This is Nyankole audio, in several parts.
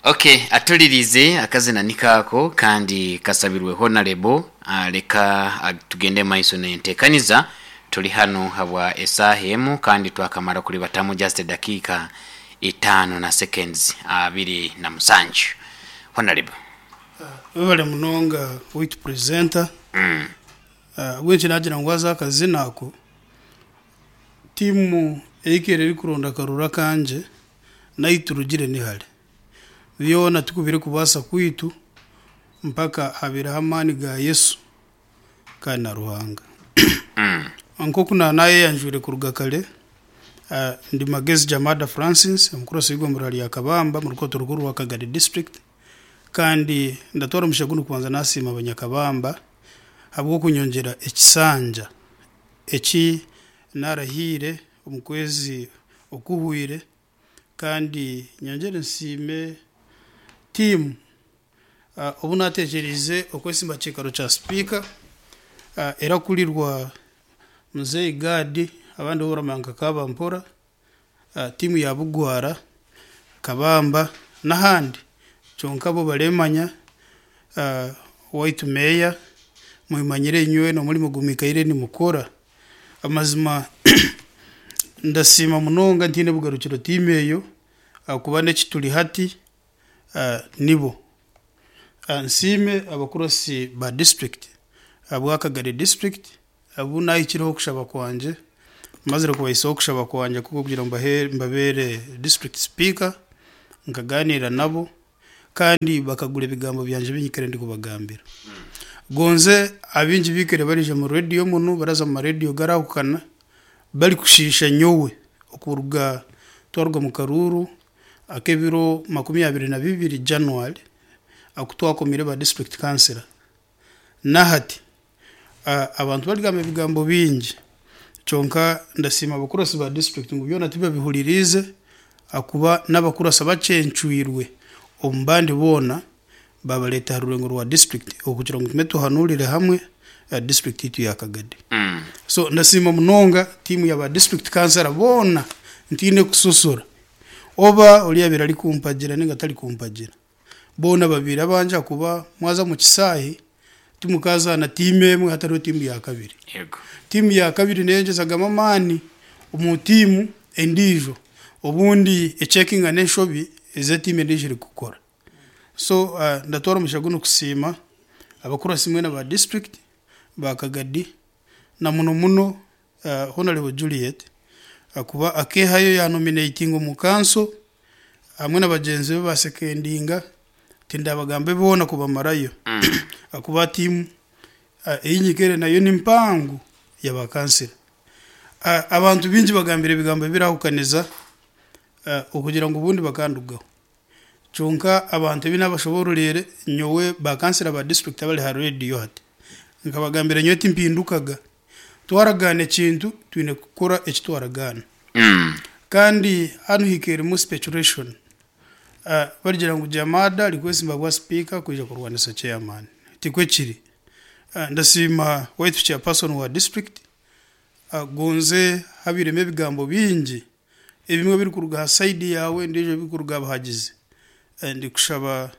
Ok, atulirize akazina niko ako kandi kasabirwe Honarebo. Leka tugende mumaiso n'entekaniza. Tuli hanu habwa esaaha emu kandi twakamara kulibatamu just edakiika itaano na seconds 27. Honarebo. Webale munonga waitu presenter. Ahabw'enki nagira ngu haza akazina ako, tiimu eikaire erikuronda akaruru akangye n'ahi turugire ni hare. Byona tikubire kubaasa kwaitu mpaka habaireho amaani ga Yesu kandi na Ruhanga. Nk'oku naayeyanjwire kuruga kare, ndi Magezi Jamada Francis, omukurasi w'eigombolola rya Kabamba omu rukoto rukuru rwa Kagadi District. Kandi ndatwara omugisha gunu kubanza nasiima Abanyakabamba ahabw'okunyongyera ekisanja eki narahiire omu kwezi okuhwire kandi nyongyere nsiime tiimu obu natekyereize okwesimba aha kiikaro kya sipiika erakurirwa Muzei Gad abandi bo baramanya nka Kabampora. Tiimu ya Bugwara, Kabamba n'ahandi kyonka bo baremanya. Owaitu meeya mwemanyire inywena omurimo ogu mwikaire nimukora. Amazima ndasiima munonga ntiine bugarukiro tiimu eyo ahakuba n'eki turi hati nibo. Nsiime abakurasi ba disiturikiti ahabwa Kagari disiturikiti. Abu naahikireho okushaba kwangye, mazire kubahisaho okushaba kwangye kw'okugira ngu mbabeere district speaker, nkagaaniira nabo kandi bakagura ebigambo byangye ebi nyikaire ndikubagambira. Gonze abaingi baikaire baraija omu rediyo munu, baraza omu marediyo garaahukana barikushiisha nyowe okuruga twaruga omu karuuru ak'ebiro 22 January aku twakomire ba district councillor. Nahati abantu barigamba ebigambo bingi kyonka ndasiima abakurasi ba disiturikiti ngu byona tibabihuririize ahakuba n'abakurasi abakyencwirwe omu bandi boona babareeta aha rurengo rwa disiturikiti okugira ngu tugume tuhanuurire hamwe disiturikiti yaitu ya Kagadi. So ndasiima munonga tiimu ya ba disiturikiti kansara boona ntiine kusosora oba oriya abaire arikumpagira ninga atarikumpagira. Boona babaire abangye ahakuba mwaza omu kisaahe timukazaana tiimu emwe hatariho tiimu ya kabiri. Tiimu ya kabiri neyongyezagamu amaani omu tiimu endiijo obundi ecekinga n'enshobi ezi etiimu endiijo erikukora. So ndatwara omugisha gunu kusiima abakurasi mwena ba disiturikiti ba Kagadi na muno muno Honarebo Juliet ahakuba akeehayo yaanominatinga omu kanso hamwe na bagyenzi be baasekendinga, tindabagambe boona kubamarayo ahakuba tiimu ei nyikaire nayo ni mpango ya baakansira. Abantu baingi bagambire ebigambo ebirahukaniza okugira ngu obundi bakandugaho. Kyonka abantu ebi naabashoboororeire nyowe baakansira ba disiturikiti abari aha reediyo hati, nkabagambira nyowe timpindukaga. Twaragaana ekintu, twine kukora eki twaragaana. Kandi hanu hikairemu speculation. Barigira ngu Jamada arikwesimba bwa sipiika kwija kurwanisa chairman. Tikwe kiri. Ndasiima waitu chairperson wa district, gonze habairemu ebigambo bingi, ebimwe birikuruga aha side yaawe endiijo birikuruga aha bahagizi. Ndikushaba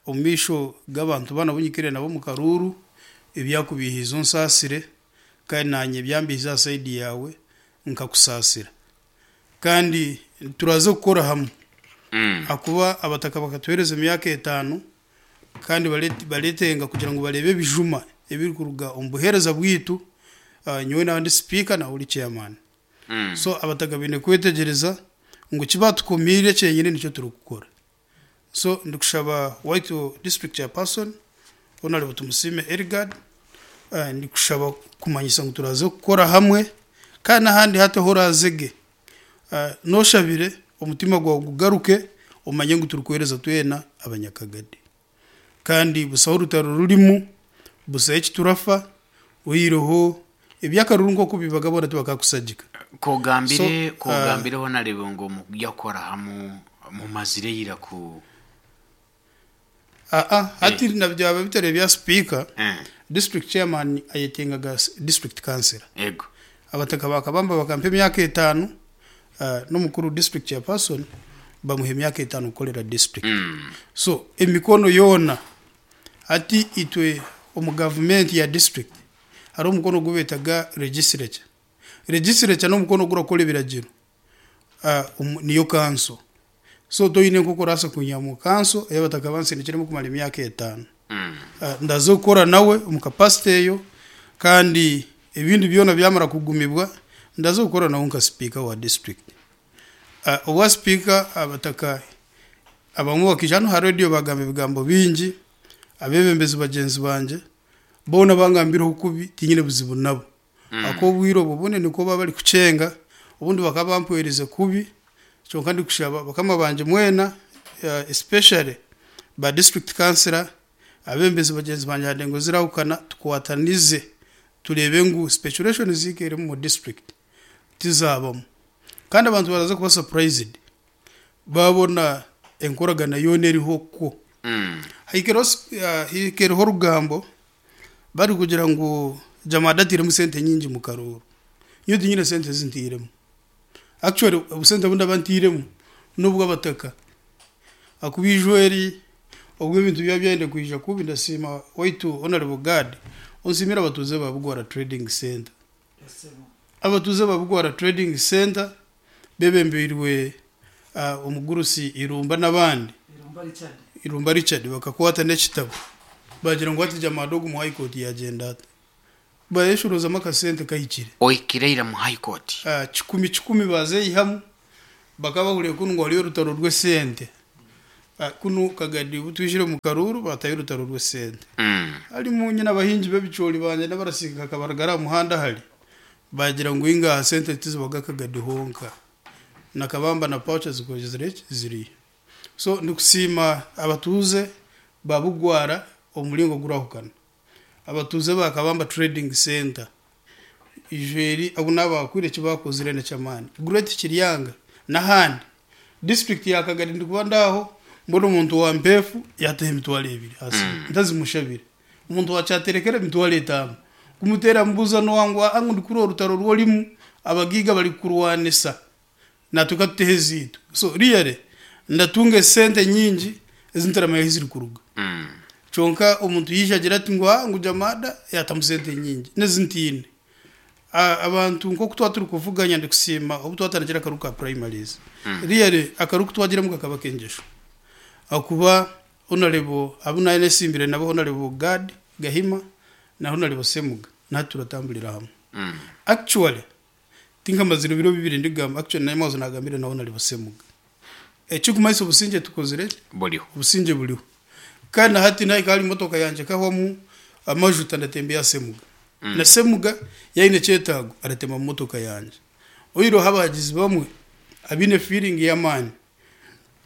Omu maisho g'abantu banu abu nyikaire nabo omu karuuru, ebyakubiihiize onsaasire, kandi naanye ebyambiihize aha sayidi yaawe nkakusaasira. Kandi turaze kukora hamwe, ahakuba abataka bakatuheereza emyaka etaano kandi bareetenga kugira ngu bareebe ebijuma ebirikuruga omu buheereza bwaitu, nyowe naaba ndi sipiika naiwe ori chairman. So abataka baine kwetegyereza ngu eki baatukomiire kyenyine nikyo turikukora. So ndikushaba waitu district chairperson Honarebo Tumusiime Erigard ndikushaba kumanyisa ngu turaze kukora hamwe kandi nahandi hati ahu orazege noshabire omutima gwawe gugaruke omanye ngu turikuhereza twena abanyakagadi kandi busaho orutaro rurimu, busaho ekiturafa oihireho ebyakaruru nkoku bibaga boona tibakakusagika. Kogambire So, kogambire Honarebo ngu omukugya kukora hamu mumazire ira ku Aa hati na byaba bitari ebya sipiika, district chairman ayetengaga district councillor. Ego. Abataka ba Kabamba bakampa emyaka etaano, n'omukuru district chairperson. Bamuha emyaka etano kukorera district. So emikono yoona hati itwe omu gavumenti ya district hariho omukono ogu beetaga legislature. Legislature n'omukono ogurakora ebiragiro niyo kanso. So toine nk'oku orabaasa kwiha omu kanso ei abataka bansindikiremu kumara emyaka etano. Ndaza kukora nawe omu capacity eyo kandi ebindi byona byamara kugumibwa ndaza kukora nawe nka sipiika wa district. Obwa sipiika abataka abamwe bakaija hanu aha radio bagamba ebigambo bingi, abeebembezi bagyenzi bangye boona bangambireho kubi tinyine buzibu nabo. Ahakuba obwire obwo obundi nikwo baba barikukyenga, obundi bakaba bampwerize kubi, kyonka ndikushaba bakama bangye mwena especially ba district councilor, abeebembezi bagyenzi bangye aha ndengo zirahukana tukwatanize tureebe ngu speculation zikaire omu district tizabamu. Kandi abantu baraza kuba surprised baabona enkoragana yoona eriho kwo. Haikireho orugambo barikugira ngu Jamada atairemu sente nyingi omu karuuru. Nyowe tinyine sente ezi ntairemu. Actually obusente obu ndaba ntairemu n'obw'abataka. Ahakuba ijo eri obu ebintu byaba byayenda kwija kubi ndasiima waitu Honourable Gad onsiimire abatuuze ba Bugwara Trading Centre. Abatuuze ba Bugwara Trading Centre bebembeirwe omugurusi Irumba n'abandi, Irumba Richard, bakakwata n'ekitabo baagira ngu hati Jamada ogu omu High Court yaagyenda ata? Baayeshorozamu akasente kahikire. Ohikire ira mu High Court? Kikumi kikumi baazeyihamu, bakaba bahuriire kunu ngu hariyo orutaro rw'esente. Kunu Kagadi obu twijire omu karuuru baatayo orutaro rw'esente. Harimu nyine abahingi b'ebicoori bangye n'abarasiika kabarugara aha muhanda hare. Baagira ngu inga aha sente tizibaga Kagadi honka. Na Kabamba na Pouch zikozire ki? Ziriyo. So ndikusiima abatuuze ba Bugwara omu muringo ogurahukana. Abatuuze ba Kabamba Trading Centre ijo eri abu naabahakwire eki baakozire n'eky'amaani. Great Kiryanga n'ahandi. Disiturikiti ya Kagadi ndikuba ndi aho mbona omuntu wa Mpeefu yaataho emitwaro ebiri aha simu ntazimushabire. Omuntu wa Kyaterekere emitwaro etano. Kumuteera mubuuza n'owa ngu aa ngu ndikuhurira orutaro oru orimu abagaiga barikukurwanisa natwe katuteho ezaitu. So really ndatunga esente nyingi ezi ntaramanya ahu zirikuruga. Kyonka omuntu yaija agira ati ngu aa ngu Jamada yaatamu sente nyingi n'ezi ntaine. Abantu nk'oku twaba turikuvuganya ndikusiima obu twatandikire akaru ka primaries. Really akaru ku twagiremu kakaba ak'engyesho ahakuba Honarebo abu naayesimbire nabo Honarebo Gad Gahima na Honarebo Semuga na hati turatamburira hamwe. Actually tinkamazire biro bibiri ndigamba actually naimwe naagambire na Honarebo Semuga. Ekirikumanyisa obusingye tukozire ki? Buriho. Obusingye buriho. Kandi na hati nahika ahari motoka yangye ekahwamu amajuta ndatembeya Semuga. Na Semuga yaaba aine ekyetaago aratema mu motoka yangye. Oihireho abahagizi bamwe abaine feeling y'amaani.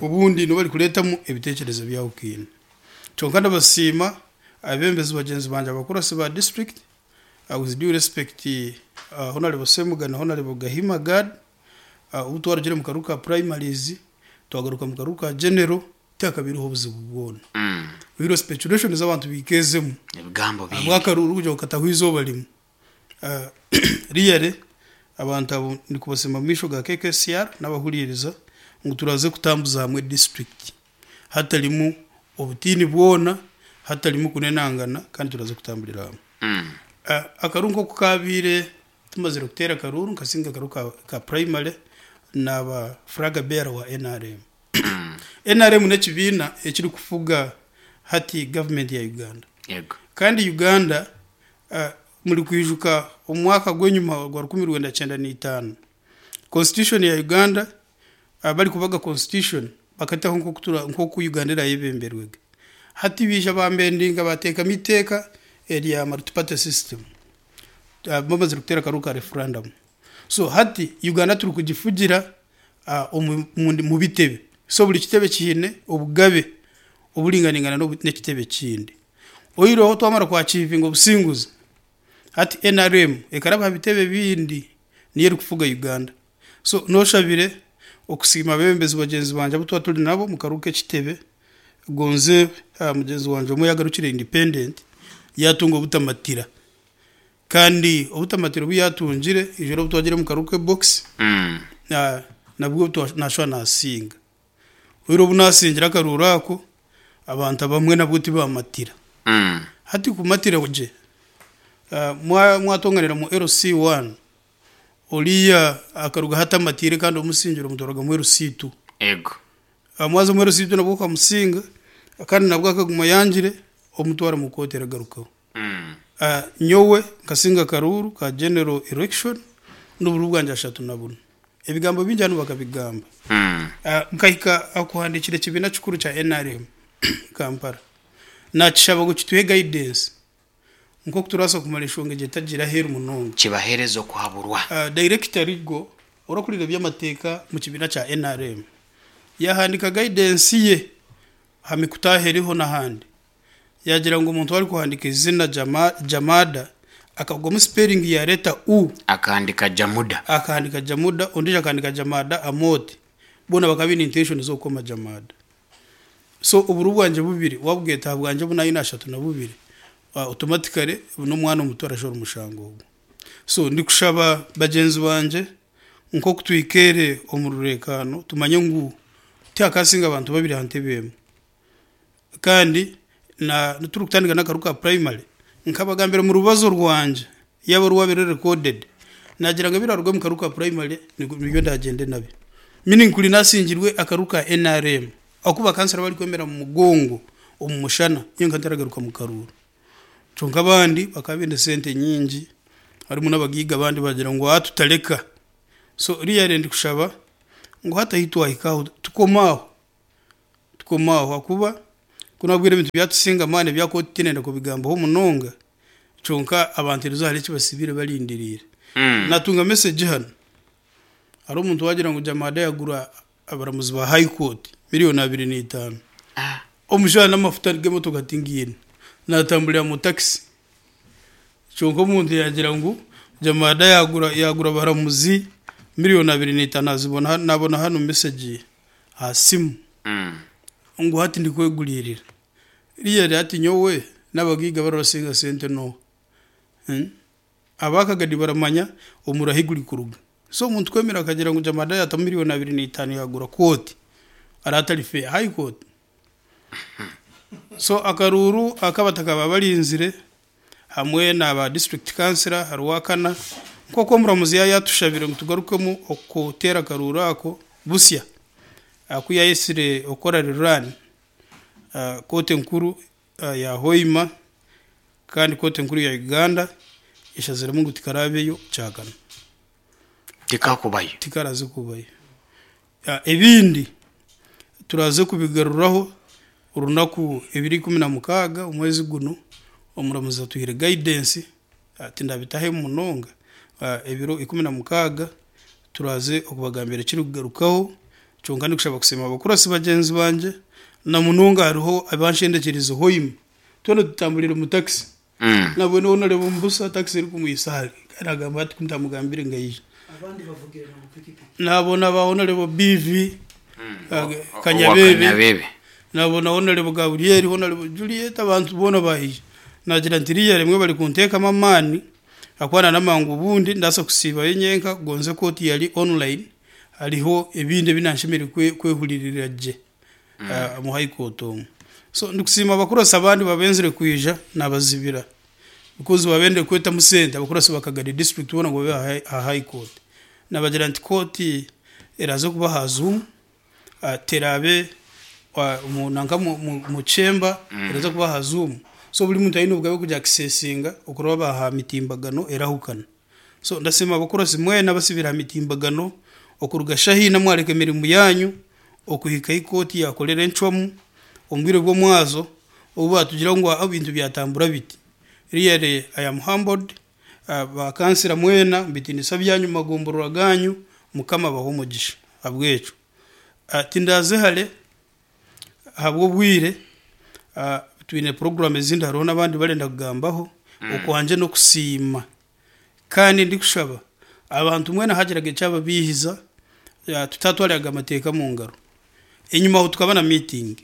Obundi nibo barikureetamu ebiteekyerezo byahukine. Kyonka ndabasiima abeebembezi bagyenzi bangye abakurasi ba district, with due respect Honarebo Ssemuga na Honarebo Gahima Gad, obu twarugire omu karuuru ka primaries twagaruka omu karuuru ka general tihakabaireho obuzibu bwona. Oihireho speculations abantu baikeezemu Ebigambo bingi. ahabw'akaruuru kugira ngu katahwa eizooba rimwe. Really abantu abo ndikubasiima omu maisho ga KKCR n'abahuriiriza ngu turaze kutambuza hamwe district hatarimu obutiini bwona, hatarimu kunenangana kandi turaze kutamburira hamwe. Akaruuru nk'oku kabaire tumazire kuteera akaruuru nkasinga akaruuru ka primary naaba flag bearer wa NRM. NRM n'ekibiina ekirikufuga hati gavumenti ya Uganda. Kandi Uganda Murikwijuka omu mwaka gw'enyima ogwa 1995, Constitution ya Uganda barikubaga Constitution bakataho nk'oku Uganda erayebemberwege. Hati baija bambendinga bateekamu eiteeka erya multi-party system bamazire kuteera akaruuru ka referendum. So hati Uganda turikugifugira omu bitebe. So buri kitebe kiine obugabe oburinganingana n'ekitebe ekindi. Oihireho twamara kwachievinga obusinguzi, hati nrm ekaraba aha bitebe ebindi niyo erikufuga Uganda. So noshabire okusiima abebembezi bagyenzi bangye abu twaba turi nabo omu karuuru k'ekitebe, gonze mugyenzi wangye omwe yagarukire independent yatunga obutamatira kandi obutamatira obu yatungire ijoro obu twagire omu karuuru k'ebox nabwo nashuba nasinga. Oihireho obu naasingire akaruuru ako, abantu abamwe nabwo tibamatira. Hati kumatira gye, mwatonganira mu LC1, oriya akarugaho atamatiire kandi omusingire omutwaraga mu LC2. Ego. Mwaza omu LC2 nabwo okamusinga kandi nabwo akaguma ayangire, omutwara mu kooti eragarukaho. Nyowe nkasinga akaruuru ka general election n'obururu bwangye 34. Ebigambo bingi hanu bakabigamba. Nkahika aha kuhandiikira ekibiina kikuru kya nrm Kampala nakishaba ngu kituhe guidance nk'oku turabaasa kumara enshonga egyo etagiire aheeru munonga. Kibaheereze okuhaburwa. Director Rigo orikukurira eby'amateeka omu kibiina kya nrm yahandiika guidance ye aha mikutu ahu eriho n'ahandi. Yaagira ngu omuntu arikuhandiika eizina Jamada akagwamu siperingi ya leeta U. Akahandika Jamuda. Akahandika Jamuda, ondiijo akahandika Jamada Amooti. Boona bakaba baine intention z'okukoma Jamada. So oburo bwangye bubiri waabweta aha bwangye obu naine 32, automatically n'omwana omuto arashora omushango ogwo. So ndikushaba bagyenzi bangye nk'oku twikaire omu rureekaano tumanye ngu tihakaasinga abantu babiri aha ntebe emwe. Kandi na turikutandika n'akaru ka primary, nkabagambira omu rubazo rwangye yaaba rwabaire ruri recorded, naagira ngu ebiraruga omu karu ka primary nibyo ndagyende nabyo. Meaning kuri naasingirwe akaru ka nrm ahakuba bakansara barikwemera omu mugongo omu mushana nyowe nkaba ntaragaruka mu karuuru. Kyonka abandi bakaba baine sente nyingi harimu n'abagaiga abandi baagira ngu aa tutareka. So really ndikushaba ngu hati ahu twahika aho tukome aho. Tukoma aho ahakuba ku nabwire ebintu byatusinga amaani ebya kooti tindenda kubigambaho munonga kyonka abantu eriizooba hariho eki basibiire barindiriire. Natunga message hanu hariho omuntu waagira ngu Jamada yagura abaramuzi ba high court million 25. Omushaija n'amafuta g'emotoka tingiine natamburira mu taxi Kyonka omuntu yaagira ngu Jamada yaagura yaagura abaramuzi million 25 azibona nabona hanu message aha simu ngu hati ndikweguriirira. Really hati nyowe n'abagaiga abarabasinga sente n'oha? Abakagadi baramanya omuriro ahi gurikuruga. So omuntu kwemera akagira ngu Jamada yaatamu million 25 yaagura kooti araba atari fair. High court? So akaruuru aku abataka baba barinzire hamwe na ba district councillor hariho akana nk'oku omuramuzi yaaba yaatushabire ngu tugarukemu okuteera akaruuru ako busya aku yaayetsire okukora rerun kooti enkuru ya Hoima kandi kooti enkuru ya Uganda eshaziremu ngu tikaraabeyo kyakana. Tikakubayo. Tikaraze kubayo. Ebindi turaze kubigaruraho orunaku ebiro 16 omwezi gunu, omuramuzi atuhaire guidance, tindabitahemu munonga, ebiro 16 turaze okubagambira ekirikugarukaho, kyonka ndikushaba kusiima abakurasi bagyenzi bangye, na munonga hariho abanshendekyerize Hoima, twena tutamburiire omu taxi. Nabwene ou nareeba omu busa takisi erikumwihisa hare kandi agamba ati ku ntamugambire ngu aije. Nabona ba Honourable BV Kanyabebe, nabona Honourable Gabriel, Honourable Juliet abantu boona baija. Nagira nti riya rimwe bari kunteekamu amaani ahakuba nanamangu obundi ndabaasa kusiibayo nyenka gonze kooti yari online hariho ebindi ebi nanshemereire kwehuririra gye. omu high court omu. So ndikusiima abakurasi abandi babenzire kwija nabazibira because babendire kwetamu sente abakurasi ba Kagadi district boona ngu babe aha high court. Nabagira nti kooti eraze kuba aha zoom teraabe nanka omu chamber eraza kuba aha zoom so buri muntu aine obugabe bw'okugi accessinga okuraba aha mitimbagano erahukana. So ndasiima abakurasi mwena abasibire aha mitimbagano okuruga shaha ina mwareka emirimo yanyu okuhika ahi kooti yaakorera encwamu omu bwire bw'omwazo obu baatugira ngu ebintu byatambura biti. Really I am humbled, ba kansira mwena omu bitiinisa byanyu omu magomborora gaanyu, Mukama abahe omugisha ahabw'ekyo. Tindaaze hare ahabw'obwire, twine puroguraamu ezindi hariho n'abandi barenda kugambaho, okwangye n'okusiima. Kandi ndikushaba abantu mwena hagiraga ekyababiihiza tutatwariraga amateeka omu ngaro. Enyima aho tukaba na meeting,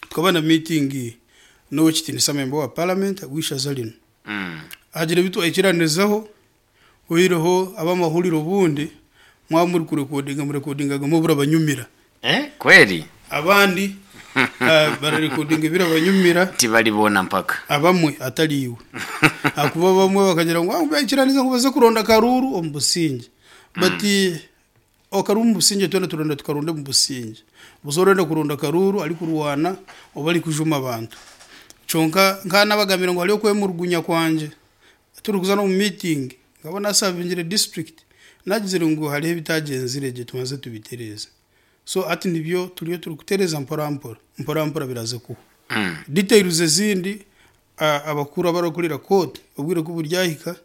tukaba na meeting n'owekitiinisa member wa parliament ow'eishaza rinu. Hagira ebi twaikiranizaho, oihireho ab'amahurire obundi mwaba muri kurekodinga murekodingaga oburabanyumira. Eh, kweli Abandi bararekodinga ebirabanyumira. Tibaribona mpaka. Abamwe atari iwe. Ahakuba abamwe bakagira ngu baikiraniza ngu baze kuronda akaruuru omu busingye. But akaruuru omu busingye twena turenda tukaronde omu busingye. Busa orenda kuronda akaruuru arikurwana oba arikujuma abantu. Kyonka nka nabagambira ngu hariho okwemurugunya kwangye turikuza n'omu meeting nkaba nasavingire district nagizire ngu hariho ebitagyenzire gye tubanze tubitereeze. So hati nibyo turiyo turikutereeza mpora mpora, mpora mpora biraze kuhwa. Details ezindi abakuru abarakurira court obwire ku buryahika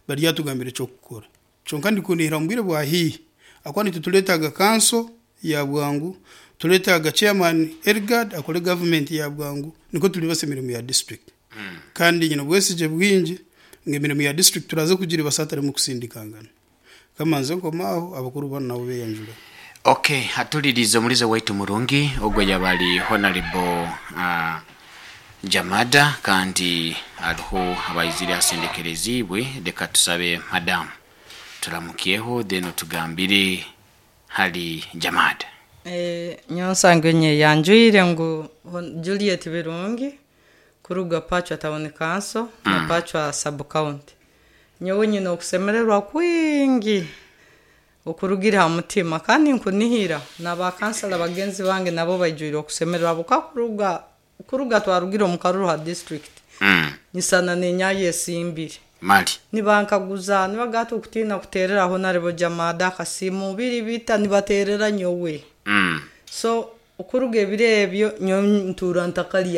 baryatugambira eky'okukora. Kyonka ndikunihira omu bwire bwa haihi ahakuba nitwe tureetaaga kanso ya bwangu, tureetaaga chairman Elgard akore gavumenti ya bwangu nikwo turibasa emirimo ya district. Kandi nyine obwesigye bwingi ngu emirimo ya district turaze kugiribasa hatarimu kusindikangana. Kamanze nkome aho abakuru banu nabo beyanjure. Ok, atulirize omulizo waitu murungi ogwo yaba ari Honorable uh, Jamada kandi hariho abaizire asendekerezibwe. Leka tusabe madamu turamukyeho then otugambire hali Jamada. Nyowe nsange nyeyanjwire ngu Juliet Birungi kuruga Pachwa Town Council na Pachwa Sub County. Nyowe nyine okusemererwa kwingi okurugire ha mutima kandi nkunihira na bakansala bagenzi bange nabo baijwire okusemererwa buka kuruga kuruga twarugire omu karuru ha district. Nyisana nenyayo esimbire. Mali. Nibankaguza nibagata okutiina kutereraho naribo Jamada akasimu biri bita nibaterera nyowe. So okuruga ebiro ebyo nyowe ntuura ntakarya.